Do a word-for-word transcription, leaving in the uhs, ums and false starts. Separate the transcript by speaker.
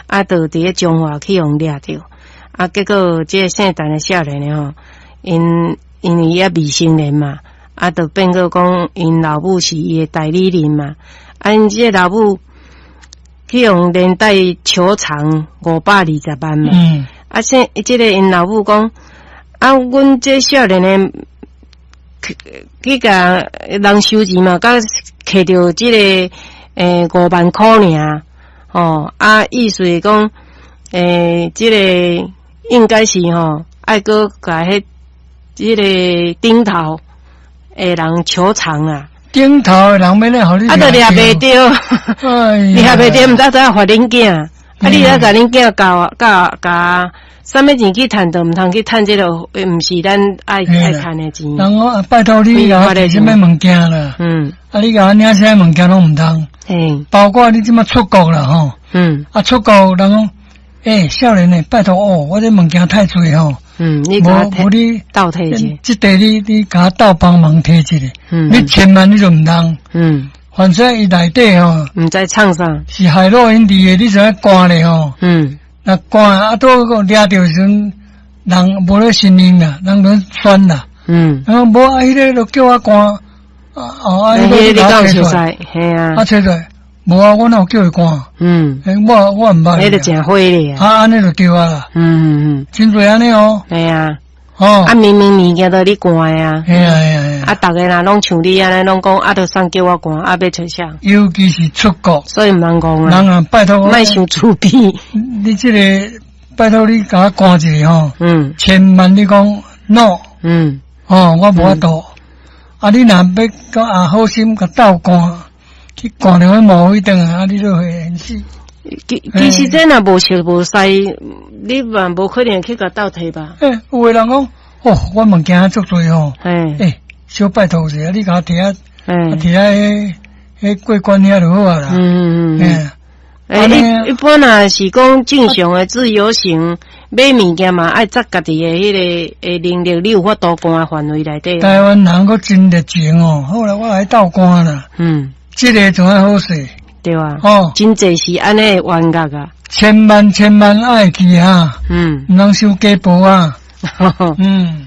Speaker 1: 啊，就佇咧彰化去予掠著，啊，結果這个姓陳的少年的吼，𪜶因為伊猶未成年嘛，啊，就變做講𪜶老母是伊的代理人嘛，啊，𪜶這个老母去予連帶求償五百二十萬嘛，
Speaker 2: 嗯，
Speaker 1: 啊，姓這个𪜶老母講，啊，阮這少年的去去共人收錢嘛，佮摕著這个欸五萬箍爾，吼，啊，意思是講，欸，這个應該是吼，愛閣共彼這个頂頭的人求償啊，
Speaker 2: 頂頭的人欲來予你，
Speaker 1: 啊，就掠袂著，
Speaker 2: 哎
Speaker 1: 掠袂著，毋知怎罰恁囝，啊，你愛共恁囝教教教，啥物錢去趁，都毋通去趁這个，毋是咱愛愛趁的錢。
Speaker 2: 人講拜託你共我提啥物物件啦？
Speaker 1: 嗯，
Speaker 2: 啊，你共我領啥物物件攏毋通。
Speaker 1: 嘿，
Speaker 2: 包括你這馬出國啦吼，
Speaker 1: 嗯，
Speaker 2: 啊出國人講，欸，少年的，拜託哦，我這物件太濟吼，
Speaker 1: 嗯，你
Speaker 2: 無無你
Speaker 1: 鬥提一下，
Speaker 2: 這塊你你共我鬥幫忙提一下，
Speaker 1: 嗯，
Speaker 2: 你千萬你就毋通，
Speaker 1: 嗯，
Speaker 2: 反正伊內底吼，
Speaker 1: 毋知創啥，
Speaker 2: 是海洛因佇的，你就愛關咧吼，
Speaker 1: 嗯，
Speaker 2: 若關啊，拄個掠著時陣，人無咧承認啦，人咧選啦，
Speaker 1: 嗯，
Speaker 2: 然後無啊，彼个就叫我關，啊哦啊，彼個
Speaker 1: 你講
Speaker 2: 熟
Speaker 1: 熟似，嘿啊，
Speaker 2: 啊揣出來，無啊，我哪有叫伊關？
Speaker 1: 嗯，
Speaker 2: 欸，我我毋捌。
Speaker 1: 彼个誠火咧
Speaker 2: 啊，按呢就對啊啦。
Speaker 1: 嗯嗯嗯，
Speaker 2: 真濟按呢哦。
Speaker 1: 嘿啊。
Speaker 2: 哦。
Speaker 1: 啊，明明物件都你關的啊。
Speaker 2: 嘿啊嘿啊嘿
Speaker 1: 啊。啊，逐个人攏像你按呢，攏講啊，就送叫我關，啊，欲揣啥？
Speaker 2: 尤其是出國。
Speaker 1: 所以毋通講啊。
Speaker 2: 人啊，拜託我。
Speaker 1: 莫傷自卑。
Speaker 2: 你這个拜託你共我關一下吼。
Speaker 1: 嗯。
Speaker 2: 千萬你講 no。
Speaker 1: 嗯。
Speaker 2: 哦，我無法度。啊，你若欲講啊，好心共鬥關，去關著彼毛彼轉來，啊，你就會現死。
Speaker 1: 其其實這若無熟無似，你嘛無可能去共鬥提吧？
Speaker 2: 欸，有的人講，哦，我物件足濟吼。
Speaker 1: 欸，
Speaker 2: 小拜託一下，你共我提啊，提啊，彼彼過關遐就好啊啦。
Speaker 1: 嗯嗯
Speaker 2: 嗯。
Speaker 1: 欸，一一般若是講正常的自由行買物件嘛，愛紮家己的彼个的能力，你有法度關的範圍內底。
Speaker 2: 台灣人閣真熱情哦，好啦，我來鬥關啦。
Speaker 1: 嗯，
Speaker 2: 這个就愛好勢。
Speaker 1: 對啊。
Speaker 2: 哦，
Speaker 1: 真濟是按呢冤獄啊。
Speaker 2: 千萬千萬愛記啊。
Speaker 1: 嗯。
Speaker 2: 毋通收假報啊。嗯。